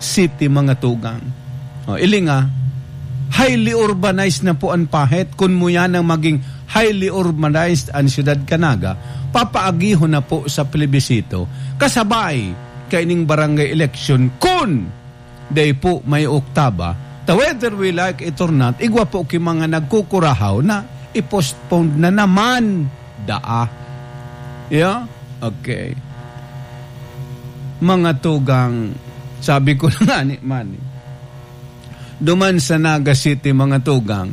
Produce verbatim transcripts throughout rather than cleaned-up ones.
City, mga tugang. O, ilinga, highly urbanized na po an Pahit. Kun muya nang maging highly urbanized an siyudad kan Naga, papaagihon na po sa plebisito. Kasabay kaining barangay election, kun dai po may oktaba, ta whether we like it or not, igwa po ki mga nagkukurahaw na i-postpone na naman daa. Yeah? Okay. Mga tugang, sabi ko na nga ni Manny, duman sa Naga City, mga tugang,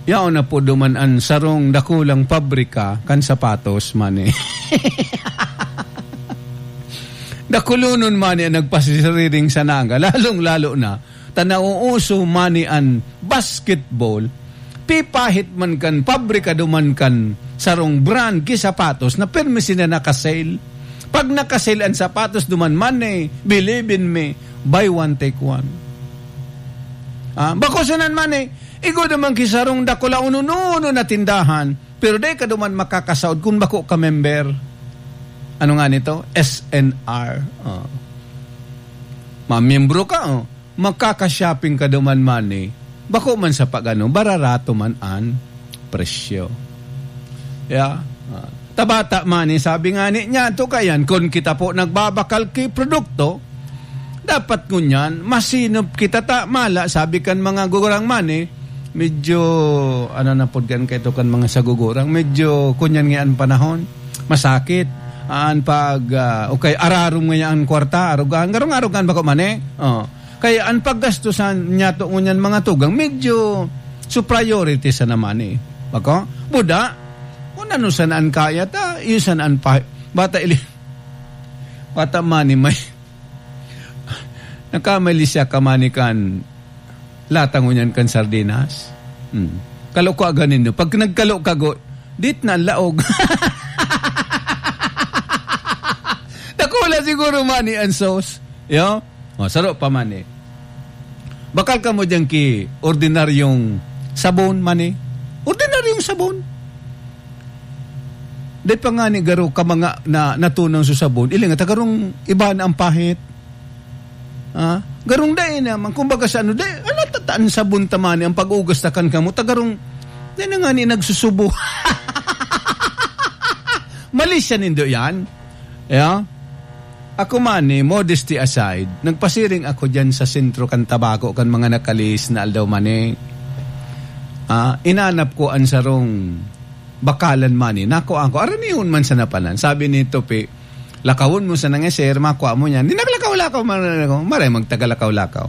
yaon na po duman an sarong dakulang pabrika kan sapatos, Manny. Dakulonon, Manny, an nagpasiriring sa Naga, lalong-lalo na ta nauuso, Manny, an basketball. Pipahit man kan pabrika duman kan sarong brand ki sapatos na pirmi sinda naka-sale. Pag naka-sale an sapatos duman, Manny, believe in me, buy one, take one. Ah, bako sanan, Manny, igwa duman ki sarong dakula unununo na tindahan, pero dai ka duman makakasaod kun bako ka member. Ano nga nito? S N R. Oh. Mamiyembro ka, oh. Makaka-shopping ka duman, Manny. Bako man sa pag-ano, bararato man an presyo. Yeah. Ah, tabata, Manny, sabi nga ni niya, to kayan, kun kita po nagbabakal ki produkto, dapat ngunyan, masinop kita ta, mala, sabi kan mga gurang, Manny, medyo, ano na pod kan kaito kan mga sagugurang, medyo, kunyan nga an panahon, masakit, an pag, ah, okay, ararom nga an kwarta, arugan, garong-arugan bako, Manny? Oh. Kaya an paggastosan niya to ngunyan, mga tugang, medyo su priority sana, Manny. Bako? Buda, kung ano sana an kaya ta, iyo sana an pa-, bata ili-, bata, Manny, may, nakamali siya ka, Manny, kan lata ngunyan kan sardinas. Hmm. Kalo ko aganin, no? Pag nagkalo ka, go, dit na an laog. Dakula siguro, Manny, an sauce. Yo? O, saro pa, Manny. Bakal kamo diyan ki ordinaryong sabon, Manny. Ordinaryong sabon. Dai pa ngani garo ka mga na, natunaw sa sabon. Ilinga ta garong iba na an pahit. Ah, garong dai naman. Kumbaga sa ano, dai, ala, ta, ta an sabon ta, Manny, an pag-ugas ta kan kamot, ta garong, dai na ngani nagsusubo. Mali siya nindo yan. Yeah? Ako, Manny, modesty aside, nagpasiring ako diyan sa sentro kan Tabaco kan mga nakalihis na aldaw, Manny. Ah, inanap ko an sarong bakalan, Manny. Nakuhaan ko. Aranihon man sa napanan. Sabi ni Tope, "Lakawon mo sa nang sir, makua mo niyan." Di naglakaw-lakaw man ako. Maray magtagalakaw-lakaw.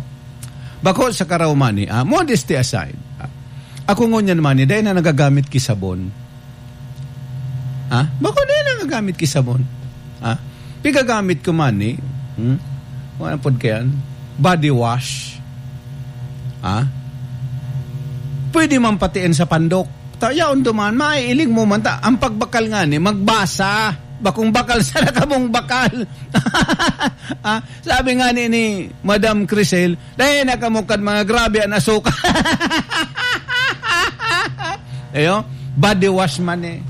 Bako sa karaw, Manny, ah, modesty aside. Ah, ako ngunyan, Manny, dai na nagagamit ki sabon. Ha? Bako na nagagamit ki sabon. Ha? Pigagamit ko man ni, hmm? Wala pod kayan. Body wash. Ha? Pwede man patiin sa pandok. Ta, yaon duman, maiiling mo man ta. Ang pagbakal nga ni, magbasa. Bakong bakal sa nakamong bakal. Ha? Sabi nga ni, ni Madam Crisel, "Dai na kamo kan mga grabe an asuka." Ayo, body wash man eh.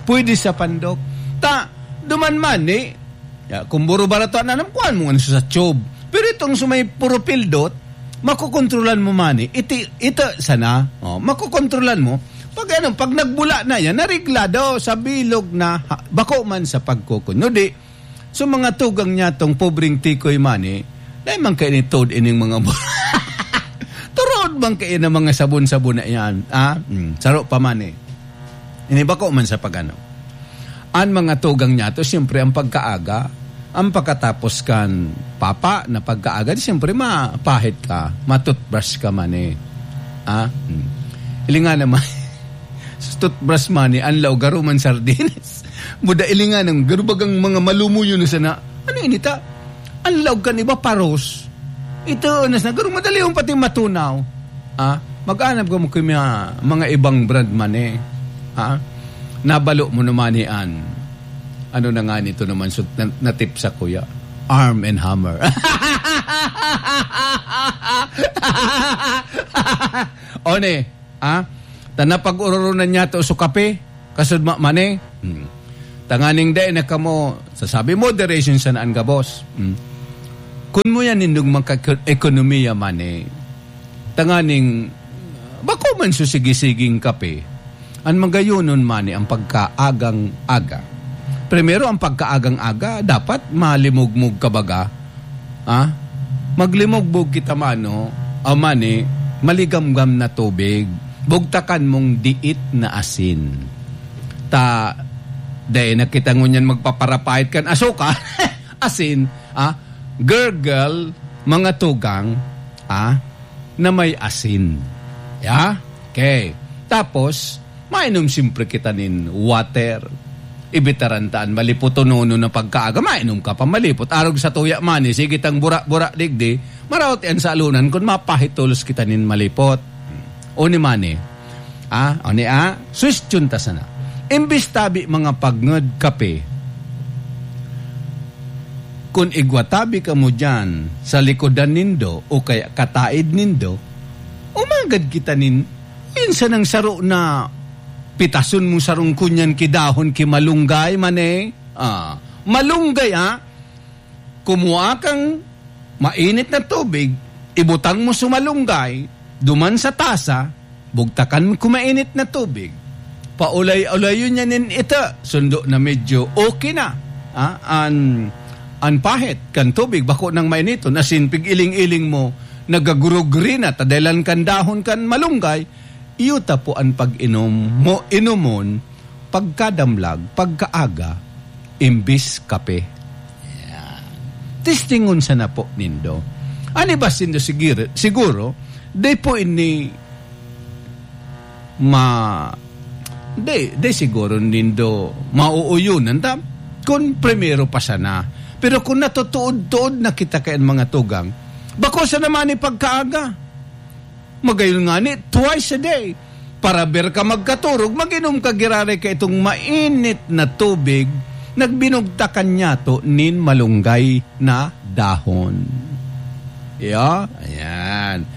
Pwede sa pandok. Ta, duman man eh. Ya, kung buro barato na, kuan mo ano sa tube. Pero itong sumay puro pildot, makokontrolan mo man eh. Iti, ito sana, oh, makokontrolan mo. Pag ano, pag nagbula na yan, nareglado sa bilog na, ha, bako man sa pagkukunyo. Di, so, mga tugang niya tong pobreng tikoy man eh, dahil man kayo ni Toad ining mga bu-, turod man kayo ng mga sabon-sabon na yan, ah? Hmm, saro pa man eh. Ini bako man sa pagano. Ang mga tugang niya to, siyempre, ang pagkaaga, ang pagkatapos kan papa na pagkaaga, di siyempre, mapahit ka, matutbrush ka man eh. Ah? Hmm. Ili nga naman, sa toothbrush man eh, ang laog, garo man sardines. Buda ilingan ang garubagang mga malumuyo na sana. Ano ini ta? Ang laog kan iba, paros. Ito, nas na, garong madali yung pati matunaw. Ah, mag-anap ka mo kay mga, mga ibang brand man eh. Ah, nabalo mo naman ni Ann. Ano na nga nito naman, so, na, natip sa kuya? Arm and Hammer. One, ah, ta napag-ururunan niya to sa kape, kasud ma-, mani. Hmm. Tanganing dai na kamo, sasabi, moderation sa naan gabos. Hmm. Kun mo yan nindong maka-, ekonomiya man eh, tanganing bako man susigsiging kape, an magayonon man eh ang pagkaagang-aga. Primero, ang pagkaagang-aga, dapat malimugmog ka baga. Ah? Maglimugbog kita mano, o mani, maligamgam na tubig. Bugtakan mong diit na asin. Ta, dai na kita ngunyan magpaparapait kan asukar. Asin, ah? Gurgle, mga tugang, ah? Na may asin. Ya? Okay. Tapos, mainom siyempre kita nin water. Ibitaran taan malipot o nono na pagkaaga, mainom ka pa malipot. Arog sa tuya man, eh, sige tang bura-bura digdi, maraot yan sa alunan kun mapahitulos kita nin malipot. O ni mani, ah, o ni, ah, suwestyon ta sana. Imbis tabi mga pagngod kape, kun igwa tabi kamo diyan sa likodan nindo o kaya kataid nindo, umagad kita nin, minsan ang saro na pitason mo sarong kunyan ki dahon ki malunggay man eh. Ah, malunggay, ah. Kumuha kang mainit na tubig, ibutang mo sa malunggay, duman sa tasa, bugtakan mo kung mainit na tubig. Paulay-ulayon niya nin ita, sundo na medyo okay na, ah, an, an pahit kan tubig, bako nang mainiton, asin pig-iling-iling mo, nagagurugri na, ta dahelan kan dahon kan malunggay, iyo ta po an pag-inom mo, inomon, pagkadamlag, pagkaaga, imbis kape. Yan. Testingon sana po nindo. An iba sindo sigir-, siguro, di po ini ma-, di, di siguro nindo mauuyunan ta kun primero pa sana. Pero kung natutuod-tuod na kita kay mga tugang, bako sana man ni pagkaaga. Magayon ngani, twice a day. Para ber ka magkaturog, mag-inom ka giraray kaitong mainit na tubig, nagbinugtakan niyato nin malunggay na dahon. Iyo, ayan.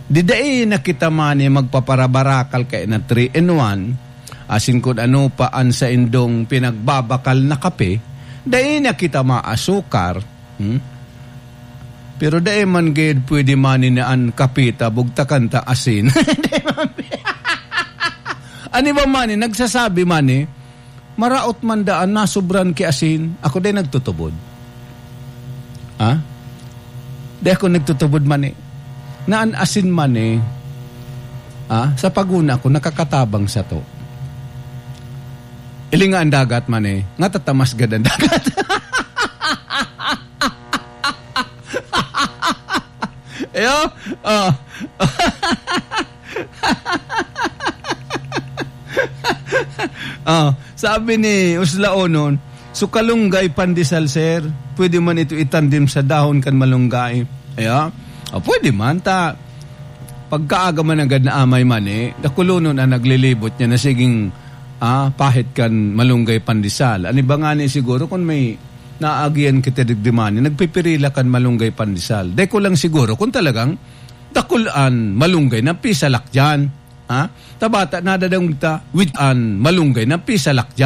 Di dai na kita man eh magpaparabarakal kay na three in one, asin kun ano pa an saindong pinagbabakal na kape, dai na kita maasukar, hmm? Pero dai man gayud pwede man ni na an kape ta bugtakan ta asin. Dai man. An iba man ni nagsasabi man ni, maraot man daan nasobran ki asin. Ako dai nagtutubod. Ha? Dai ako nagtutubod man ni. Na an asin man ni, ha? Sa paguna ko, nakakatabang sato. Ilinga an dagat man ni, nga tatamas gad an dagat. Ayo, oh. Oh, sabi ni Uslaonon, "So kalunggay pandesal, sir, pwede man ito itandim sa dahon kan malunggay?" Ayo, oh, pwede man ta. Pagkaaga man agad na amay man eh, dakulonon ang naglilibot niya na siging, ah, pahit kan malunggay pandesal. Ano ba nga ni siguro kung may naagihan kita digdi man, nagpipirila kan malunggay pandesal. Dai ko lang siguro kung talagang dakul an malunggay na pisalak diyan. Ha? Tabata nadadangog ta, with an malunggay na pisalak diyan.